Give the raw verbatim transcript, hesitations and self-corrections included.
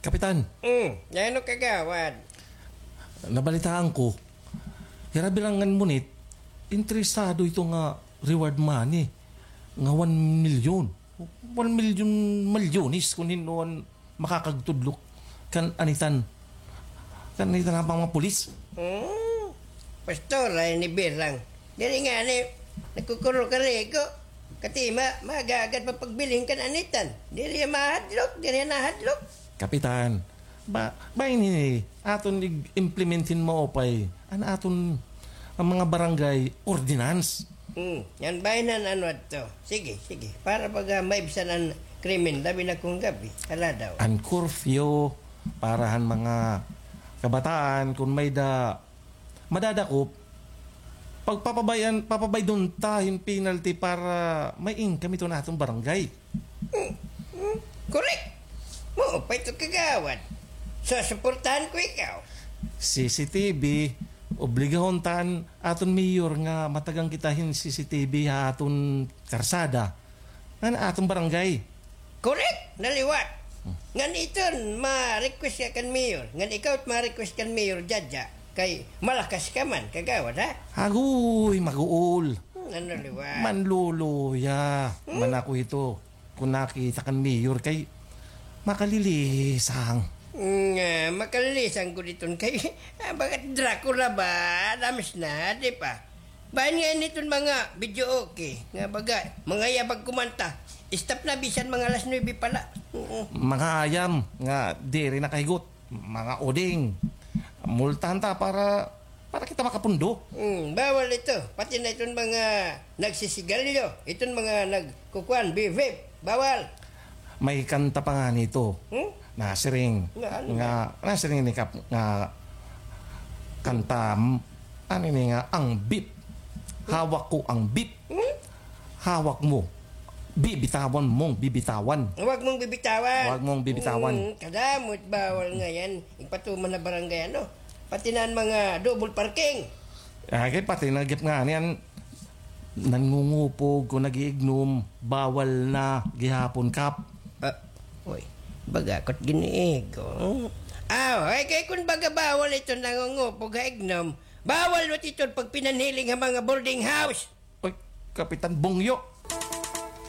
Kapitan. Hmm, ano, kagawad? Nabalitaan ko, hira Birangan Munit, interesado ito nga reward money nga one million. One million, milyones kun hin-o an makakagtudlok kan anitan. Kan anitan nga mga pulis. Hmm, pastor, ay ni Birang. Diri ngani, nagkukurol ka riko. Katima, magagad pa pagbilin kan anitan. Diri mahadlok, diri nahadlok. Kapitan, ba, ba ini aton ig-implement hin maupay an aton, an mga barangay ordinance. Hmm, yan ba inan ano adto? Sige, sige. Para baga maibsan an krimen, labi na kun gab-i, haladaw. An curfew, para han mga kabataan, kun may-da madadakop, pagpapabay-an, papabaydon ta hin penalty para may income iton aton barangay. Hmm, hmm, correct. Maupay ito, kagawad. Susuportahan ko ikaw. C C T V, obligahon ta an aton mayor nga matagan kita hin C C T V ha aton karsada. Ngan aton barangay. Correct, naliwat. Hmm. Ngan iton ma-request ka kan mayor. Ngan ikaw it ma-request kan mayor, Jaja. Kay malakas ka man, kagawad, ha? Agoy, maguol. Hmm, ano liwat? Manluluya. Hmm? Man ako ito. Kun nakita kan mayor kay makalilisang. Nga, makalilisang gud iton kay, ah, bagat Dracula ba? Damis na, di pa? Bahin nga ini iton mga video okay. Nga baga, mga yabag kumanta. Stop na bisan mga alas nuebe pa la. Oo. Mga ayam nga diri nakahigot. Mga uding. Multahan ta para, para kita makapundo. Hmm, bawal ito. Pati na iton mga nagsisigalyo, iton mga nagkukuan, vape, bawal. May kanta pa ngani ito. Hmm? Nasiring. Nga ano? Nga, nasiring ni Kap nga kanta, m-, ano ini nga, ang vape. Hawak ko ang vape. Hmm? Hawak mo. Bibitawan mong bibitawan. Huwag mong bibitawan. Huwag mong bibitawan. Hmm, kadamo it bawal ngay-an. Igpatuman ha barangay, ano? Pati na an mga double parking. Ah, kay pati na gihap ngani an nangungupog kun nag-iignom, bawal na gihapon, Kap. Ah, oy, baga ko it giniigo. Ah, ay, kay kun baga bawal iton nangungupog ha ignom, bawal man iton pagpinanhiling ha mga boarding house. Oy, Kapitan Bongyo,